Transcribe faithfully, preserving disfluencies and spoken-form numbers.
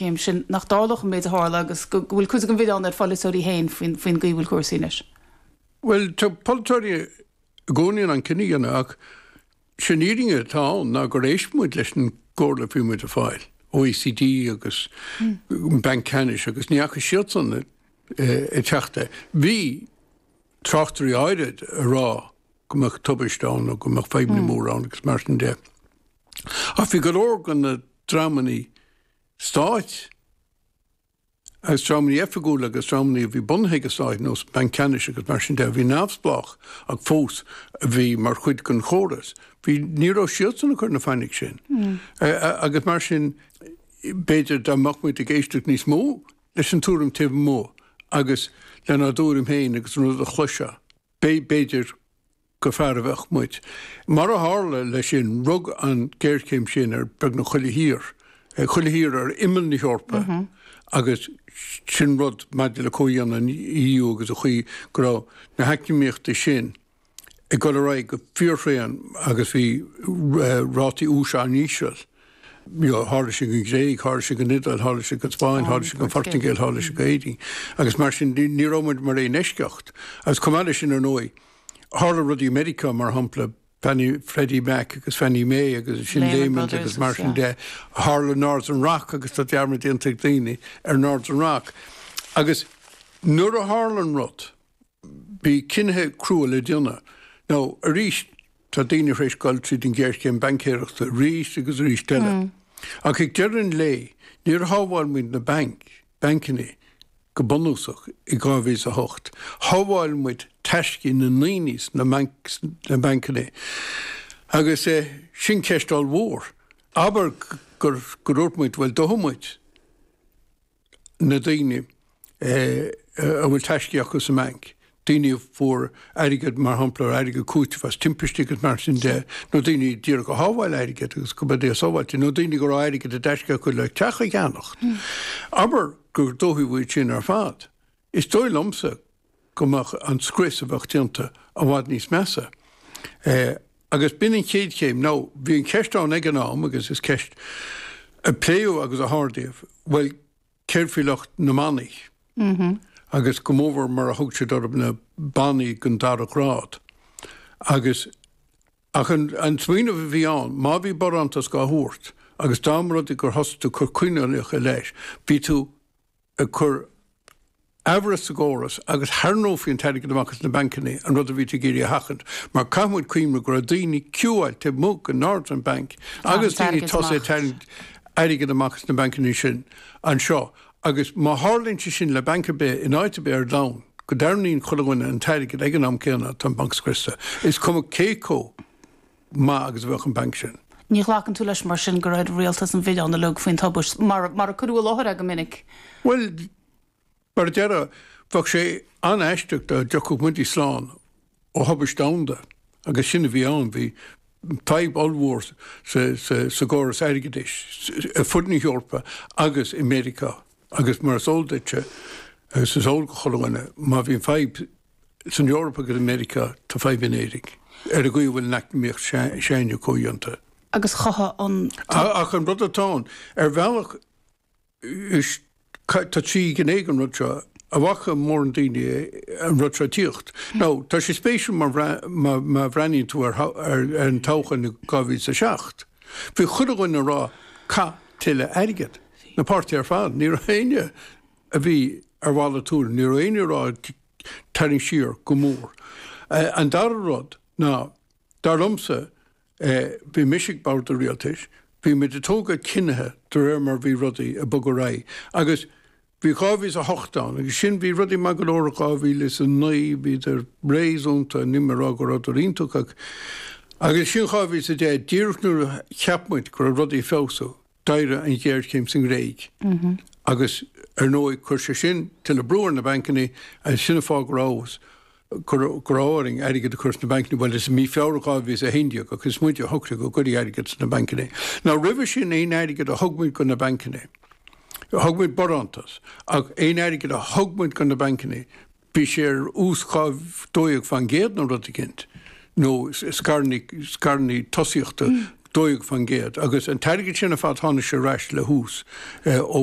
ghéarchéim sin nach dtarlódh an méid a tharla agus go bhfuil cuid den mhilleán ar pholaiteoirí féin faoin faoin gcaoi bhfuil cúrsaí anois. Well tá polaiteoirí i gcónaí in ann cinneadh a dhéanamh ach sin fhírinne atá ann ná gur éist muid leis an gcomhairle a bhí muid ag fáil, OECD agus an Banc Ceannais agus ní fhaca siadsan ag teacht é. Bhí tráchtairí áirid ag rá go mbeadh tubaist ann nó go mbeadh fadhbanna móra ann agus mar sin de. Ach bhí go leor de na dreamanna stáit agus dreamanna oifigiúla agus dreamanna a bhí bunaithe ag an stát nós Banc Ceannais agus mar sin de a bhí neamhspleách ach fós a bhí mar chuid den chóras. Bhí ní raibh siadsan ag cur na fainic sin. Agus mar sin b'fhéidir dá mbeadh muid ag éisteacht níos mó leis an tuairim taobh amuigh agus lenár dtuairim féin agus an rud a chloiseadh, b'fhéidir gur fearr a bheadh muid. Mar a tharla leis sin, rug an ghéarchéim sin ar beagnach chuile thír, chuile thír ar imeall na hEorpa agus sin rud maidir le comhdhéanamh an EU agus an chaoi go raibh na heacnamaíochtaí sin ag dul ar aghaidh go fíorthréan agus bhí rátaí úis an-íseal. Tharla sé don Ghréig, tharla sé don Iodáil, tharla sé don Spáinn, tharla sé don Phortaingéil, tharla sé d'Éirinn agus mar sin ní raibh muid mar aon eisceacht. Agus chomh maith leis sin ar ndóigh, tharla rudaí i Meiriceá mar shampla, Fannie, Freddie Mac agus Fannie Mae agus sin Lehman agus mar sin de, tharla Northern Rock agus tá dearmad déanta ag daoine ar Northern Rock. Agus nuair a tharla an rud, bhí cinntí crua le déanamh. Now, arís, tá daoine tar éis dul tríd an ghéarchéim baincéireachta arís agus arís eile. Ach ag deireadh an lae, níor shábháil muid na bainc, bancanna, go bunúsach i dhá mhíle is a hocht. Shábháil muid taiscí na ndaoine sna bancanna. Agus sin ceist ollmhór. Abair gur dúirt muid, bhuel, dófaidh muid na daoine a bhfuil taiscí acu sa mbanc, daoine a fuair airgead, mar shampla, airgead cúitimh as timpistí agus mar sin de, nó daoine díreach a shábháil airgead agus go mbeidh sábháilte, nó daoine go raibh airgead i dtaisce acu le teach a cheannacht. Abair gur dófaí iad sin ar fad. Is dóigh liomsa go mbeadh an scrios a bheadh déanta i bhfad níos measa. Agus b'in an chéad chéim. Now, bhí an cheist ann ag an am, agus is ceist a pléadh agus a hardaíodh, bhuel, céard faoi lucht na mbannaí? Agus go mórmhór mar a thug siad orthu na bannaí den dara grád. Agus ach an, an smaoineamh a bhí ann, má bhí barántas á thabhairt agus dá mba rud é gur thosaigh tú ag cur coinníollacha leis, bhí tú ag cur amhras sa gcóras agus tharraingeofaí an t-airgead amach as na bancanna, an rud a bhí tú ag iarraidh a sheachaint, mar caithfidh muid cuimhneamh go raibh daoine queueáilte taobh amuigh den Northern Bank agus daoine ag tosaí ag tarraingt airgead amach as na bancanna sin anseo agus má tharlaíonn sé sin le banc ar bith in áit ar bith ar domhan, go dtarraingíonn chuile dhuine an t-airgead ag an am céanna, tá an banc scriosta. Is cuma cé chomh maith agus a bheadh an banc sin. Ní ghlacann tú leis mar sin gur ar an rialtas an milleán uilig faoin tubaist, mar mar a cuireadh i láthair é go minic? Bhuel, mar a deireadh, bheadh sé an-aisteach dá dtiocfadh muide slán ó thubaist domhanda, agus sin a bhí ann, bhí fadhb ollmhór sa gcóras airgeadais ar fud na hEorpa agus i Meiriceá agus mar is eol duitse, agus is eol do chuile dhuine, má bhíonn fadhb san Eoraip agus i Meiriceá, tá fadhb in Éirinn, ar an gcaoi a bhfuil an eacnamaíocht s'againne comhdhéanta. Agus chothaigh an. Ach an rud atá ann, ar bhealach, is tá trí ghné den rud seo. An bhfaca mórán daoine an rud seo ag tíocht? Now, tá sé spéisiúil má má bhreathnaíonn tú ar ar an toghchán i dhá mhíle is a seacht. Bhí chuile dhuine ag rá caith tuilleadh airgid. Na páirtithe ar fad. Ní raibh éinne a bhí ar mhalairt tuairim. Ní raibh éinne ag rá tarraing siar go mór. An dara rud ná, dar liomsa, Bhí mise ag bord an rialtais, bhí muid ag tógáil cinnithe de réir mar bhí rudaí ag bogadh ar aghaidh agus bhí dhá mhíle is a hocht ann agus sin, bhí rudaí maith go leor i dhá mhíle is a naoi, bhíodar réasúnta, níl mé ag rá go rabhadar iontach ach agus sin dhá mhíle is a deich, díreach nuair a cheap muid go raibh rudaí ag feabhsú, d'éirigh an ghéarchéim sa nGréig agus ar ndóigh chuir sé sin tuilleadh brú ar na bancanna agus sin an fáth go raibh go raibh orainn airgead a chur sna bancanna, bhuel is i mí Feabhra dhá mhíle is a haon déag ach is muide a shocraigh go gcuirfí airgead sna bancanna. Now roimhe sin aon airgead a thug muid go na bancanna, thug muid barántas ach aon airgead a thug muid go na bancanna, bhí sé ar ús dhá dó dhéag faoin gcéad nó rud eicínt, nó scaireanna, scaireanna tosaíochta dó dhéag faoin gcéad agus an t-airgead sin ar fad tháinig sé ar ais le hús ó